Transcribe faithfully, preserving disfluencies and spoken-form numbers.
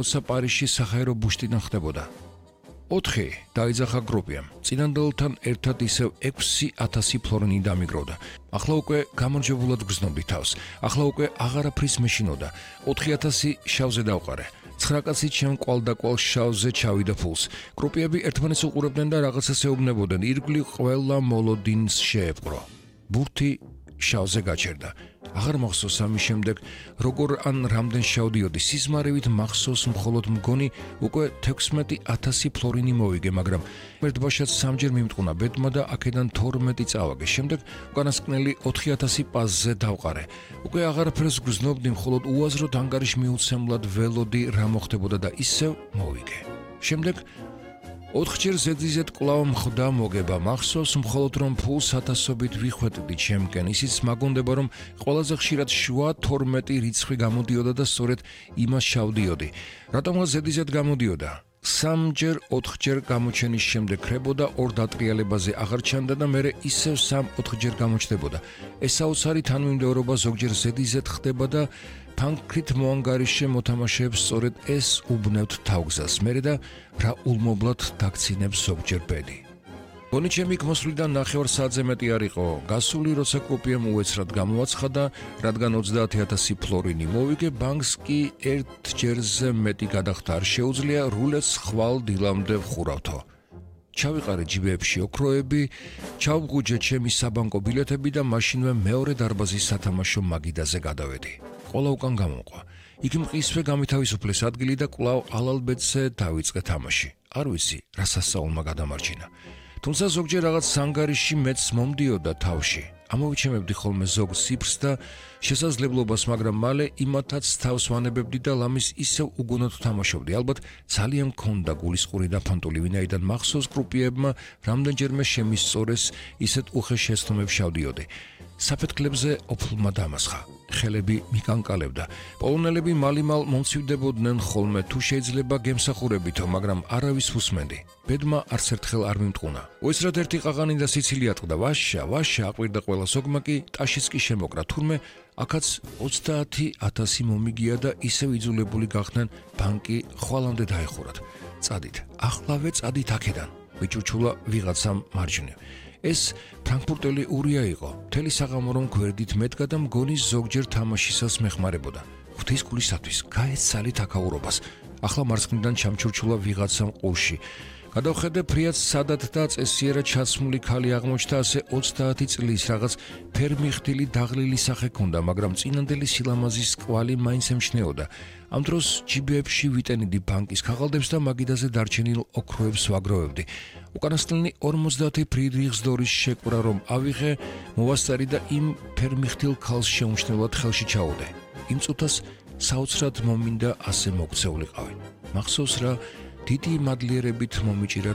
როცა პარიზში საჰაერო ბუშტიდან ხდებოდა. ოთხი დაიძახა გრუპიამ. წინანდელთან ერთად ისევ ექვსი ათასი ფლორინი დამიგროვდა. ახლა უკვე გამარჯვებულად გრძნობდი თავს. ახლა უკვე აღარაფრის მეშინოდა. ოთხი ათასი შავზე დავყარე. ცხრა კაცი ჩემ კვალდაკვალ შავზე ჩავიდა ფულს. გრუპიები ერთმანეთს უყურებდნენ და რაღაცას ეუბნებოდნენ. ირგვლივ ყველა მოლოდინს შეეპყრო. ბურთი შავზე გაჩერდა. აღარ მახსოვს ამის შემდეგ როგორ ან რამდენ შავდიოდი. სიზმარივით მახსოვს მხოლოდ მგონი უკვე თექვსმეტი ათასი ფლორინი მოვიგე, მაგრამ ერთბაშად სამჯერ მიმტყუნა ბედმა და აქედან თორმეტი წავაგე. შემდეგ უკანასკნელი ოთხი ათასი პაზზე დავყარე. უკვე აღარაფერს გრძნობდი, მხოლოდ უაზროდ ანგარიშმიუცემლად ველოდი რა მოხდებოდა და ისევ მოვიგე. შემდეგ ოთხჯერ ზედიზედ კვლავ მხდა მოგება. მახსოვს მხოლოდ რომ ფულს ათასობით ვიხვეტდი ჩემკენ. ისიც მაგონდება რომ ყველაზე ხშირად შუა თორმეტი რიცხვი გამოდიოდა და სწორედ იმას შავდიოდი. რატომღაც ზედიზედ გამოდიოდა? სამჯერ ოთხჯერ გამოჩენის შემდეგ ხრებოდა, ორ დატრიალებაზე აღარ ჩანდა და მერე ისევ სამ ოთხჯერ გამოჩნდებოდა. ეს საოცარი თანმიმდევრობა ზოგჯერ ზედიზედ ხდება და ფანქრით მოანგარიშე მოთამაშეებს სწორედ ეს უბნევთ თავგზას. მერე და რა ულმობლად დაგცინებს ზოგჯერ ბედი. გონი ჩემი მოსვლიდან ნახევარ საათზე მეტი არ იყო. გასული როცა კოპიამ უეცრად გამოაცხადა, რადგან ოცდაათი ათასი ფლორინი მოვიგე, ბანკს კი ერთჯერზე მეტი გადახდა არ შეუძლია, რულეტს ხვალ დილამდე ვხურავთო. ჩავიყარე ჯიბეებში ოქროები, ჩავღუჯე ჩემი საბანკო ბილეთები და მაშინვე მეორე დარბაზის სათამაშო მაგიდაზე გადავედი. ყოლა უკან გამომყვა. იქ მყისვე გამითავისუფლეს ადგილი და კვლავ ალალბედზე დავიწყე თამაში. არ ვიცი, რა სასწაულმა გადამარჩინა. თუმცა ზოგჯერ რაღაც სანგარიში მეც მომდიოდა თავში. ამოვიჩემებდი ხოლმე ზოგ ციფრს და შესაძლებლობას, მაგრამ მალე იმათაც თავს ვანებებდი და ლამის ისევ უგონოდ თამაშობდი. ალბათ ძალიან მქონდა გულისყური და ფანტული, ვინაიდან მახსოვს კრუპიებმა რამდენჯერმე შემისწორეს ისეთ უხეშ შეცდომებს შავდიოდი. საფეთქლებზე ოფლმა დამასხა. ხელები მიკანკალებდა. პოლონელები მალიმალ მომცივდებოდნენ ხოლმე, თუ შეიძლება გემსახურებითო, მაგრამ არავის უსმენდი. ბედმა არც ერთხელ არ მიმტყუნა. უეცრად ერთი ყაღანი და სიცილი ატყდა. ვაშა, ვაშა აყვირდა ყველა. ზოგმა კი ტაშიც კი შემოკრა. თურმე აქაც ოცდაათი ათასი მომიგია და ისევ იძულებული გახდნენ ბანკი ხვალამდე დაეხურათ. წადით, ახლავე წადით აქედან. ვიჭუჩულა ვიღაცამ მარჯვნივ. ეს ფრანკფურტელი ურია იყო. მთელი საღამო რომ გვერდით მედგა და მგონი ზოგჯერ თამაშისას მეხმარებოდა. ღვთის გულისათვის, გაეცალით აქაურობას. ახლა მარცხნიდან ჩამჩურჩულა ვიღაცამ ყურში. გადავხედე ფრიად სადად და წესიერად ჩაცმული ქალი აღმოჩნდა, ასე ოცდაათი წლის რაღაც ფერმიხდილი დაღლილი სახე ჰქონდა, მაგრამ წინანდელი სილამაზის კვალი მაინც ემჩნეოდა. ამ დროს ჯიბეებში ვიტენიდი ბანკის ქაღალდებს და მაგიდაზე დარჩენილ ოქროებს ვაგროვებდი. უკანასკნელი ორმოცდაათი ფრიდრიხსდორის შეკვრა რომ ავიღე, მოვასწარი და იმ ფერმიხდილ ქალს შეუმჩნევლად ხელში ჩაუდე. იმ წუთას საოცრად მომინდა ასე მოქცეულიყავი. მახსოვს რა დიდი მადლიერებით მომიჭირა